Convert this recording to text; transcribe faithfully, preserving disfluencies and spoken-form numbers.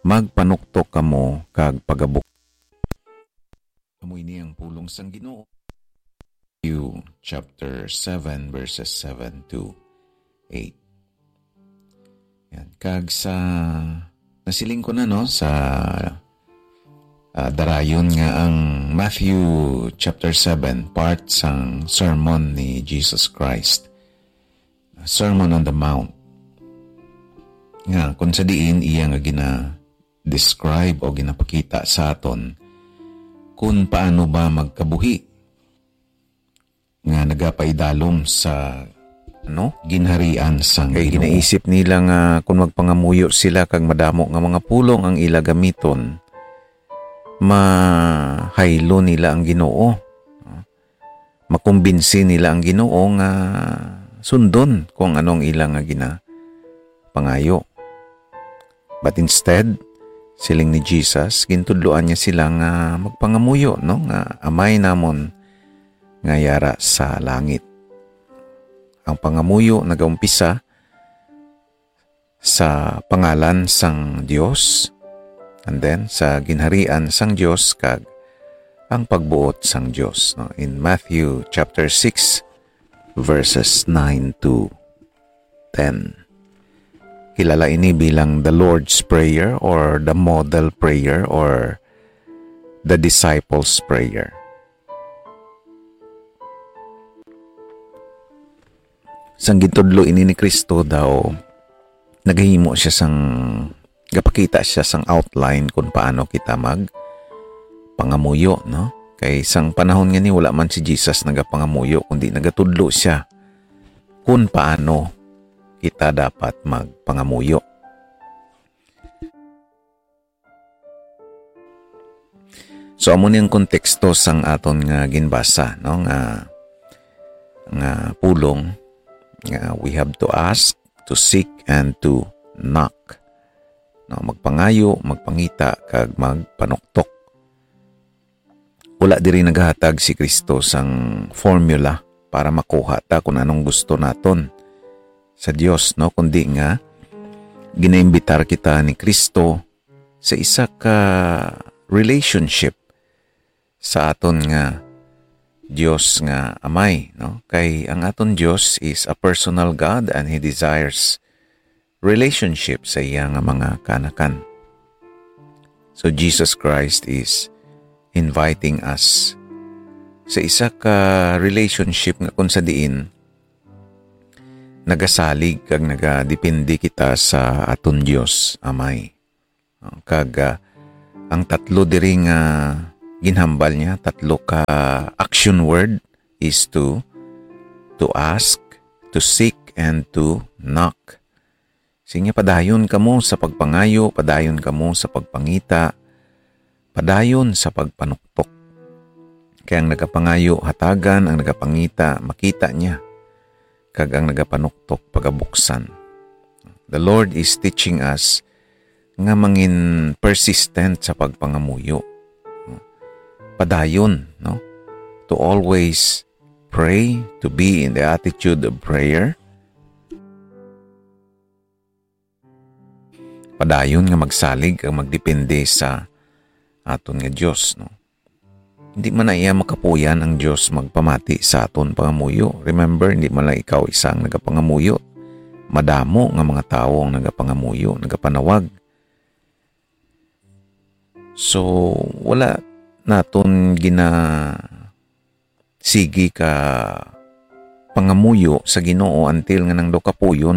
magpanuktok kamo kag pagabuk-" Amo ini ang pulong sang Ginoo. Matthew chapter seven, verses seven to eight. Yan. Kag sa, nasiling ko na, no, sa, ah, darayon nga ang Matthew chapter seven, part sang sermon ni Jesus Christ, Sermon on the Mount, nga kung sa diin iya nga gina-describe o ginapakita sa aton kung paano ba magkabuhi nga nagapaidalom sa, ano, ginharian sang Kay Ginoo. Ginaisip nila nga kung magpangamuyo sila kag madamo nga mga pulong ang ila gamiton, mahaylo nila ang Ginoo. Makumbinsi nila ang Ginoo nga sundon kung ano ang ila nga ginapangayo. But instead, siling ni Jesus, gintudloan niya sila nga magpangamuyo, no, nga Amay namon nga yara sa langit. Ang pangamuyo nagaumpisa sa pangalan sang Dios, and then sa ginharian sang Dios kag ang pagbuot sang Dios, no? In Matthew chapter six, verses nine to ten. Kilala ini bilang the Lord's Prayer or the Model Prayer or the Disciples' Prayer. Sang gintudlo ini ni Cristo daw, nagahimo siya sang, gapakita siya sang outline kung paano kita mag pangamuyo, no? Kay sang panahon nga ni, wala man si Jesus nagapangamuyo, kundi nagatudlo siya kung paano kita dapat magpangamuyo. So, amo ni ang konteksto sang aton nga ginbasa, no, nga, nga pulong, nga we have to ask, to seek, and to knock. No, magpangayo, magpangita, kag magpanuktok. Wala diri naghatag si Cristo sang formula para makuha ta kung anong gusto naton sa Dios, no, kundi nga ginaimbitar kita ni Cristo sa isa ka relationship sa aton nga Dios nga Amay, no? Kay ang aton Dios is a personal God and He desires relationship sa iya nga mga kaanakan. So Jesus Christ is inviting us sa isa ka relationship nga kung sa diin nagasalig kag nagadepende kita sa aton Dios Amay. Kag, ah, ang tatlo diri nga ginhambal niya, tatlo ka action word is to, to ask, to seek, and to knock. Siya, padayon kamo sa pagpangayo, padayon kamo sa pagpangita, padayon sa pagpanuktok. Kay ang nagapangayo, hatagan, ang nagapangita, makita niya, kag ang nagapanuktok, pagabuksan. The Lord is teaching us nga mangin persistent sa pagpangamuyo. Padayon, no? To always pray, to be in the attitude of prayer. Padayon nga magsalig kag magdepende sa aton nga Dios, no? Hindi man na iya makapuyan ang Dios magpamati sa aton pangamuyo. Remember, hindi man lang ikaw isa ang nagapangamuyo. Madamo nga mga tawo ang nagapangamuyo, nagapanawag. So, wala naton gina-, sige ka pangamuyo sa Ginoo until nga nang daw kapuyon